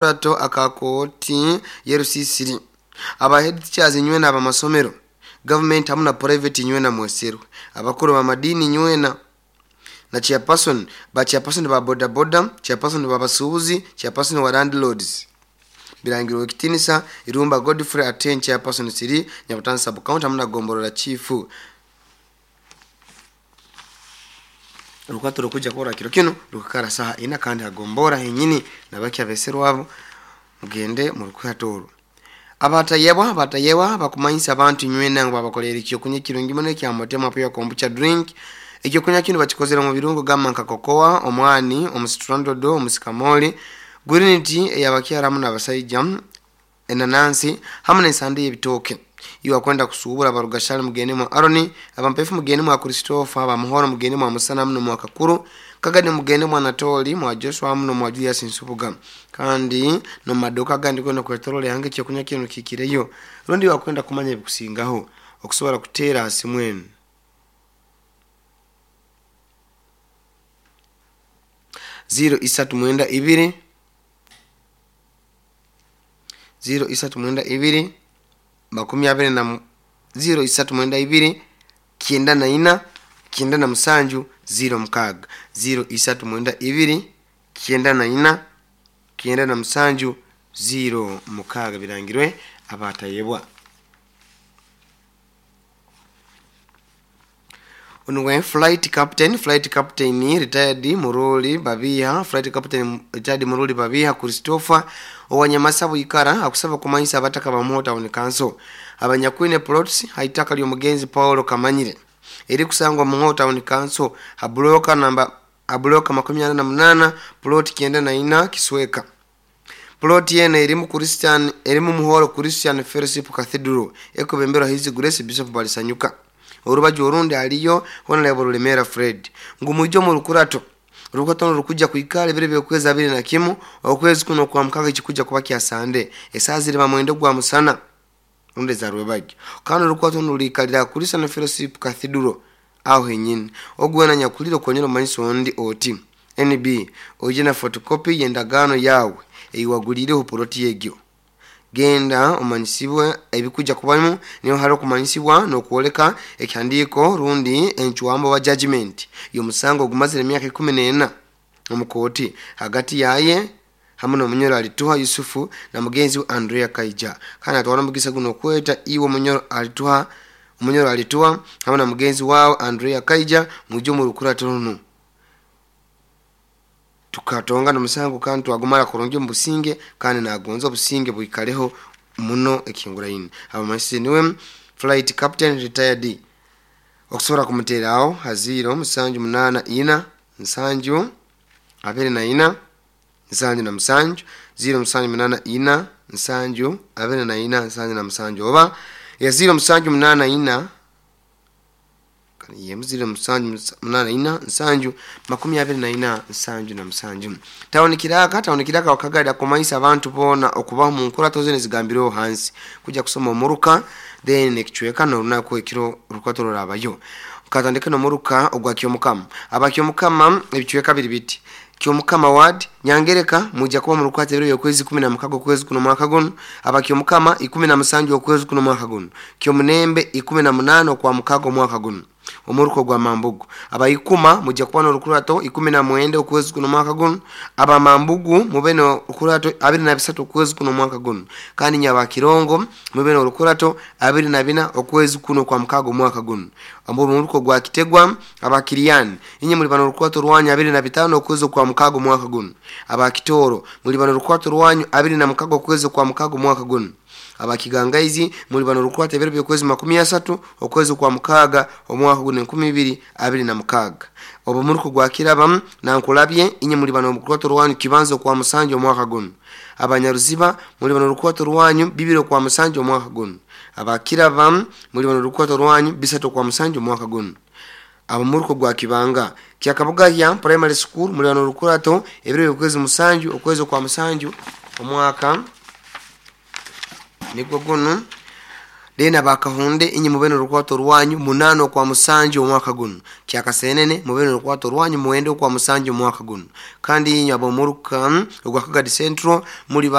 Akakurato aka kooti y'erusisiri aba head teachers nywena abamasomero government hamu na private nywena mweserwe abakuru b'amadiini nywena na chairperson ba chairperson ba boda boda, chairperson b'abasuubuzi, chairperson wa landlords. Birangirwe Kitinisa Irumba Godfrey Aten chairperson Siri Nyabutano sub county hamu na Gomborora chief. Orukwato rukujja kora kiro kinu rukakara saha ina kandi hagombora henyini nabaki abeserwabo mugende mu rukwato oru. Abatayebwa abatayebwa bakumanyisa abantu nywena ngu babakolera ekyokunywa ekirungi muno ekya Motema Pure Kombucha drink. Ekyokunywa kinu bakikozere mu birungo gamba nka kokoa, omwani, omusitrandodo, omusikamoli, green tea eyabakyara hamu n'abasaija, enanansi hamu n'ensande y'ebitooke. Iwe akwenda kusuubura abarugashali mugende mwa Aroni, abampefu mugende mwa Christopher, abamuhoro mugende mwa Musana hamu n'omwa Kakuru, Kagadi mugende mwa Anatoli, mwa Joshua hamu n'omwa Julius Nsubuga. Kandi n'omu maduuka agandi goona kwetoroora ihanga ekyokunywa kinu kihikireyo. Rundi iwe akwenda kumanya ebikusingaho, okusobora kuteera ha simu enu. 0392 0392 makumi abiri na 0392 94 97 06 0392 94 97 06 birangirwe abatayebwa. Onuwe flight captain retired Muruli Babiha, flight captain retired Muruli Babiha Christopher owanyamasa bwikara akusaba kumanyisa abataka ba Muho Town Council abanyakwine plots haitaka ly'omugenzi Paulo Kamanyire eri kusangwa Muho Town Council ha namba ha 48 plot 94 Kisweka. Plot yene erimu Christian erimu Muhoro Christian Fellowship Cathedral ekubemberwa His Grace Bishop Balisanyuka. Orubaju orundi aliyo Honorable Rulemera Fred ngu mwijo mu rukurato rukurato rukujja kwikara ebiro by'okwezi 21 okwezi kuno kwa mukaga ekikujja kuba kya Sande esaaha ziri mwenda gwa musana rundi za rwebagyo. Kandi orukurato nuliikalira Christian Fellowship Cathedral aho henyini. Ogwena nyakulire okonyera omumanyisa ondi oti NB oije na photocopy y'endagaano yawe eyiwaguliireho poloti egyo. Genda omanyisibwe ebikujja kubamu niho hali okumanyisibwa n'okwoleka ekihandiiko rundi encwambo wa judgment y'omusango ogumazire emyaka 14 omu kooti hagati yaye hamu n'omunyoro Alituha Yusufu na mugenzi we Andrea Kaija. Kandi atwara omugisa guno okweta iwe omunyoro Alituha omunyoro Alituha hamu na mugenzi wawe Andrea Kaija mwije omu rukurato runu. Tukatonga n'omusango kandi twagumara kurungi omu businge kandi nagonza obusinge bwikaleho muno ekihinguraine. Abamanyisi niwe flight captain retired okusobora kumuteeraho ha 0 7 8 4 7 24 77 0 7 8 4 7 24 77 oba ya 0 7 8 4 yemu 0 7 8 4 7 24 77. Tawuni kiraka wakagada kumanyisa abantu boona okubaho mu nkurato zene zigambireho hansi kujja kusoma omuruka then ekicweka n'orunaku ekiro rukurato rurabayo. Katandike n'omuruka ogwa Kyomukama. Aba Kyomukama ebicweka biri biti. Kyomukama ward Nyangereka mujja kuba mu rukwata ebiro by'okwezi 16 okwezi kuno mwaka guno. Aba Kyomukama 17 okwezi kuno mwaka guno. Kyomunembe 18 okwa mukaga omwaka guno. Omuruko gwa Mambugu abaikuma mujja kuba n'orukurato 19 okwezi kuno mwaka guno. Abamambugu mube n'orukurato 23 okwezi kuno mwaka guno. Kandi Nyabakirongo mube n'orukurato 24 okwezi kuno kwa mukaga omwaka guno. Omuruko gwa Kitegwa abakiriyani inye muli bano orukurato rwanyu 25 okwezi kwa mukaga omwaka guno. Abakitoro muli bano orukurato rwanyu 26 okwezi kwa mukaga omwaka guno. Abakigangaizi muli bano rukwata ebiro by'okwezi 30 okwezi kwa mukaga omwaka guno 2026. Obo muruko gwa Kiraba nankulabye inye muli bano rukwato rwanyu kibanzo kwa musanju omwaka guno. Abanyaruziba muli bano rukwato rwanyu bibiro kwa musanju omwaka guno. Abakiraba muli bano rukwato rwanyu bisatu kwa musanju omwaka guno. Abamuruko gwa Kibanga Kyakabugahya Primary School muli bano rukwato ebiro by'okwezi musanju okwezi kwa musanju omwaka nigwo guno. Then abakahunde, inye mube n'orukwato rwanyu 8 okwa 7 omwaka guno. Kyakasenene, mube n'orukwato rwanyu 9 okwa 7 omwaka guno. Kandi inywe ab'omuruka ogwa Kagadi Central muli.